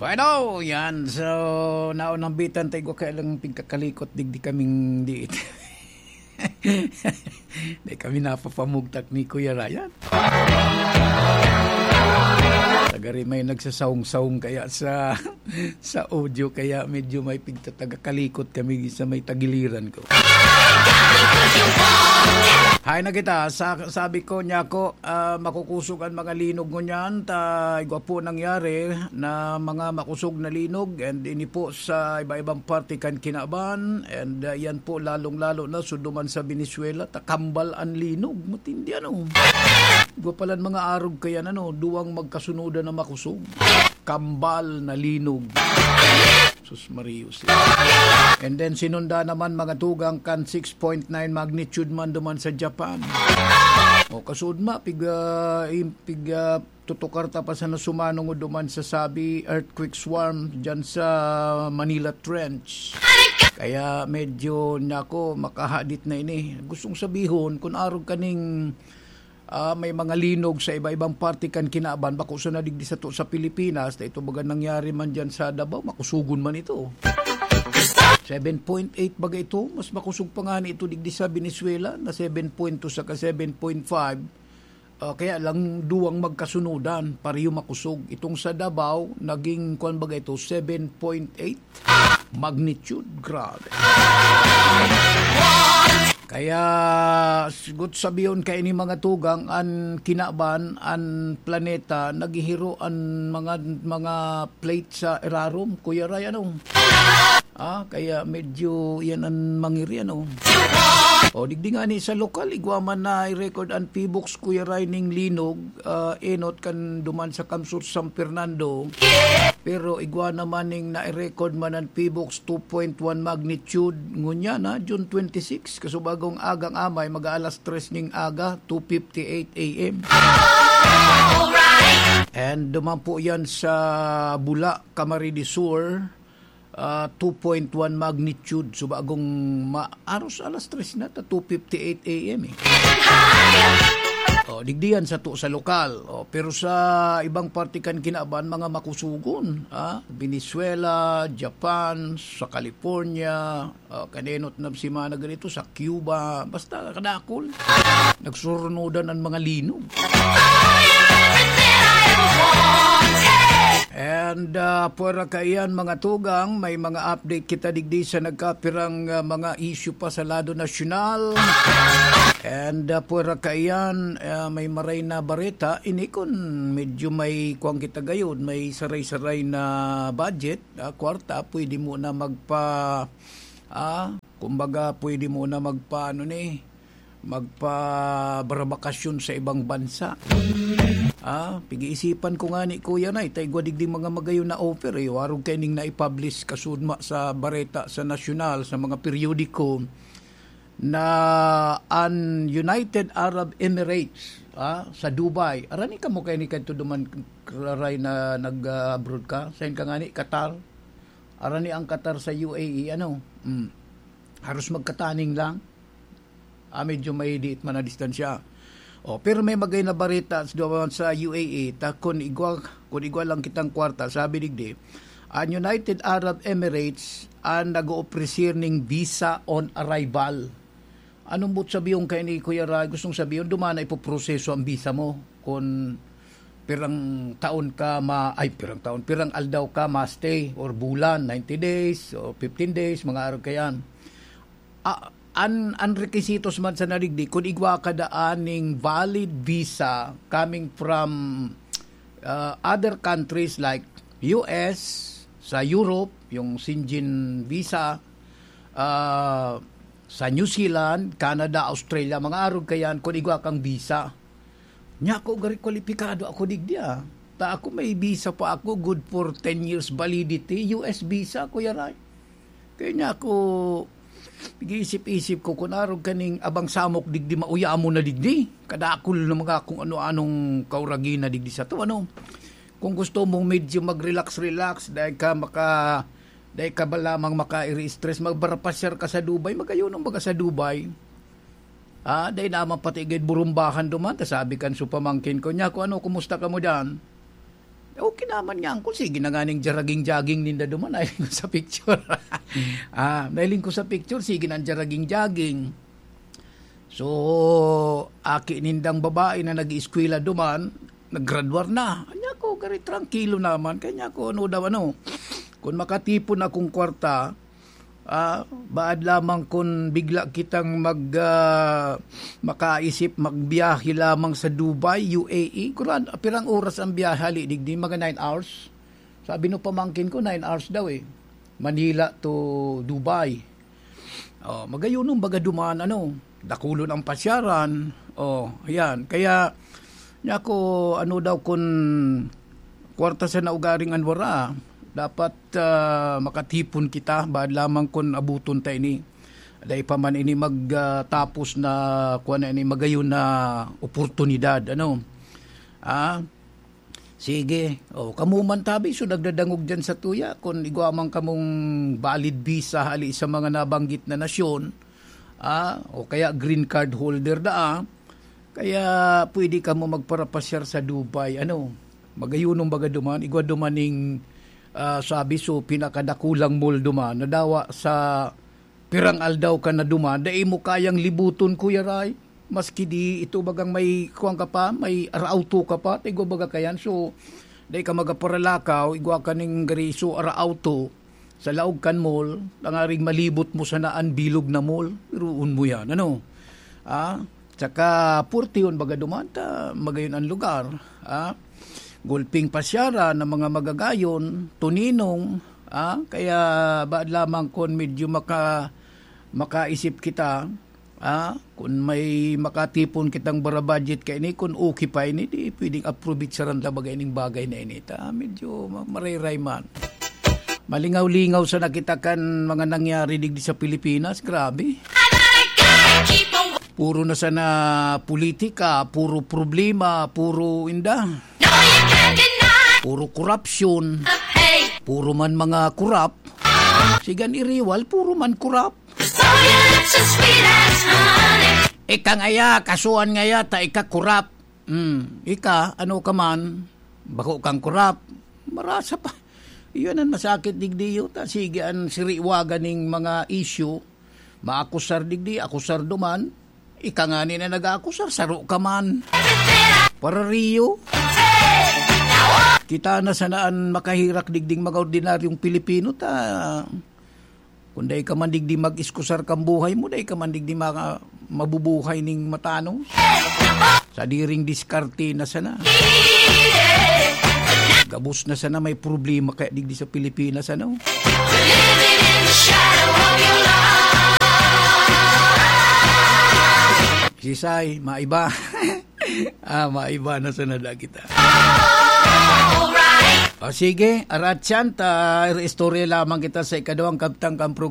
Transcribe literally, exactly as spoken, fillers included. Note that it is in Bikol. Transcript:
Ano, yan. So, naunang bitan tayo ko kaya lang pigkakalikot digdi kaming diit. Di kami napapamugtak ni Kuya Ryan. Tagari may nagsasaung-saung kaya sa, sa audio, kaya medyo may pigtatagakalikot kami sa may tagiliran ko. Hay na kita, sa, sabi ko niya ako, ah, makukusog an mga linog ngunyan, ta igwa po nangyari na mga makusog na linog, and ini po sa iba-ibang parte kan kinaban, and, ah, yan po lalong-lalo na suduman sa Venezuela, ta kambal an linog, matindi ano. Igwa palan mga arog kayan ano, duwang magkasunodan na makusog. Kambal na linog. Sus Marius. And then sinunda naman mga tugang kan six point nine magnitude man duman sa Japan. O kasud ma, pig, ah, im-, pig, ah, tutukar ta pa sana sumanong duman sa sabi earthquake swarm dyan sa Manila Trench. Kaya medyo, nako, makahadit na ini. Gustong sabihon, kung arog kaning ah, may mga linog sa iba-ibang parte kan kinaban, bako sana digdi sato sa Pilipinas, ta ito baga nangyari man diyan sa Davao, makusugon man ito. Seven point eight baga ito, mas makusog pa nga ni ito digdi sa Venezuela, na seven point two saka seven point five. Ah, kaya lang duwang magkasunodan, pareho makusog. Itong sa Davao, naging, kuwan baga ito, seven point eight magnitude. Grabe. Kaya, sigot sabihon kaini mga tugang, an kinaban, an planeta, naghihiro an mga, mga plate sa irarom, Kuya Ray, ano? Ah, kaya medyo yan an mangiri, ano? O, digdi nga ni sa lokal, igwa man na i-record an PHIVOLCS, Kuya Ray, ning linog, ah, enot kan duman sa kamsur San Fernando. Pero igwa naman ning nai-record man an PHIVOLCS two point one magnitude ngunyan, ha, June twenty-six, kasubagong agang amay, mag-aalas tres ning aga, two fifty-eight A M. And duman po yan sa Bula, Camarines Sur, ah, two point one magnitude, subagong ma-, aros alas tres na, ta two fifty-eight A M eh. O, digdi yan sato sa lokal. O, pero sa ibang parte kan kinaban, mga makusugon, ha? Venezuela, Japan, sa California, o, kanenot na semana ganito, sa Cuba, basta kadakol. Nagsurunodan ang mga linog. And, ah, pwera kaiyan, mga tugang, may mga update kita digdi sa nagkapirang, ah, mga issue pa sa lado nasyonal. And, ah, pwera kaiyan, ah, may maray na bareta. Ini kun medyo may kuwang kita gayod, may saray-saray na budget, ah, kwarta, pwede mo na magpa-, ah, kumbaga, pwede mo na magpa-, ano ni, magpabarbakasyon sa ibang bansa. Ah, pag-iisipan ko nga ni Kuya Nay, ta igwa digdi mga magayon na offer, eh. Warog kaining naipublish kasudma sa bareta sa nasyonal, sa mga periodiko, na an United Arab Emirates, ah, sa Dubai. Arani kamo kaini kadto duman, Ray, na nag-abroad ka? Sain ka nga ni Qatar? Arani ang Qatar sa U A E, ano? Mm. Haros magkataning lang. Ah, medyo may diit man na distansya. O, pero may magay na bareta sa duwa sa U A E, ta kun igwa, kun igwa lang kitang kwarta, sabi digdi, an United Arab Emirates an nag-oofrecer ning visa on arrival. Anong but sabihon kaini, Kuya Ray? Gustong sabihon, duman na ipoproseso ang visa mo. Kun pirang taon ka ma-, ay, pirang taon, pirang aldaw ka ma-stay, or bulan, ninety days, or fifteen days, mga araw kayan. Ah, an, an requisitos man sa nadigdi, kun igwa ka daan ning valid visa coming from, ah, other countries like U S, sa Europe, yung Schengen visa, ah, sa New Zealand, Canada, Australia, mga arog kayan, kun igwa kang visa. Nya ako, gari kwalipikado ako digdi, ah. Ta ako may visa pa ako, good for ten years validity, U S visa, Kuya Ray. Kaya niya ako, nag-iisip-isip ko, kun arog kaning abang samok digdi, mauyamo na digdi. Kadakul na mga kung ano-anong kauragina digdi sa to, ano. Kung gusto mong medyo mag-relax-relax, dahil ka maka-, dahil ka ba lamang maka-i-stress, magbarpasyar ka sa Dubai, magayon ang baga sa Dubai. Ah, dai naman pati gid burumbahan duman, ta sabi kan su pamangkin ko, "Nya, kung ano, kumusta ka mo diyan?" Okay naman nga, angkol, sige na nga ning jaraging-jaging ninda duman, nahiling ko sa picture. Ah, nahiling ko sa picture, sige na ang jaraging-jaging. So, aki nindang babae na nag-eskwela duman, naggraduar na. Anya ko, gari trangkilo naman. Kanya ko, ano daw, ano, kung makatipon akong kwarta, ah, baad lamang kun bigla kitang mag, ah, makaisip magbiyahe lamang sa Dubai, U A E. Kuran, pirang oras ang biyahe hali digdi, mga nine hours. Sabi no pamangkin ko, nine hours daw eh. Manila to Dubai. Oh, magayunon baga duman, ano, dakulon ang pasyaran. Oh, ayan. Kaya, niya ko, ano daw, kun kwarta sa naugaring anwara, dapat, ah, makatipon kita, baad lamang kun abuton ta ini. Dai pa man ini mag, ah, tapos na, kuwan na ini, magayon na oportunidad, ano. Ah, sige. O, kamo man tabi, so nagdadangog dyan sa tuya, kung igwa man kamong valid visa hali sa mga nabanggit na nasyon, ah, o kaya green card holder na, ah, kaya pwede kamo magparapasyar sa Dubai. Ano, magayunon baga duman, igwa duman ning, ah, sabi, so, pinakadakulang mall duman, nadawa sa pirang aldaw ka na duman, dai mo kayang libuton, Kuya Ray. Maski di ito bagang may kuwan ka pa, may ara-auto ka pa, ta igwa baga kayan. So, dai ka magaparalakaw, igwa ka ning gari, so, ara-auto sa laog kan mall, tangaring malibot mo sana an bilog na mall. Biruon mo yan, ano? Ah, tsaka purtihon baga duman, ta magayon an lugar, ah. Gulping pasyara na mga magagayon, tuninong, ah, kaya baad lamang kun medyo maka-, makaisip kita, ah, kun may makatipon kitang bara budget kaini, kun okay pa ini, di pwedeng aprovitsaran ta baga ining bagay na ini, ta medyo ma-, marayray man. Malingaw-lingaw sana kita kan mga nangyari digdi sa Pilipinas, grabe. Puro na sana politika, puro problema, puro inda. Puro korupsyon. Puro man mga korap. Sigan iriwal, puro man korap. Ika ngaya, kasuhan ngaya, ta ika korap. Hmm, ika, ano ka man, bako kang korap. Marasa pa. Iyon ang masakit digdi, ta sige an siriwagan ning mga issue. Maakusar digdi, akusar duman. Ika ngani na nag-aakusar, saro ka man. Parariyo. Kita na sana an makaherak digding mga ordinaryong Pilipino, ta kun dai ka man digdi mag-iskusar kan buhay mo, dai ka man digdi maka-, mabubuhay ning matanos. Sadiring diskarte na sana. Gabos na sana may problema kaya digdi sa Pilipinas, ano? Sisay, maiba. Ah, maiba na sana da kita. O sige, aratyan ta, istorya lamang kita sa ikaduhang kabtang kan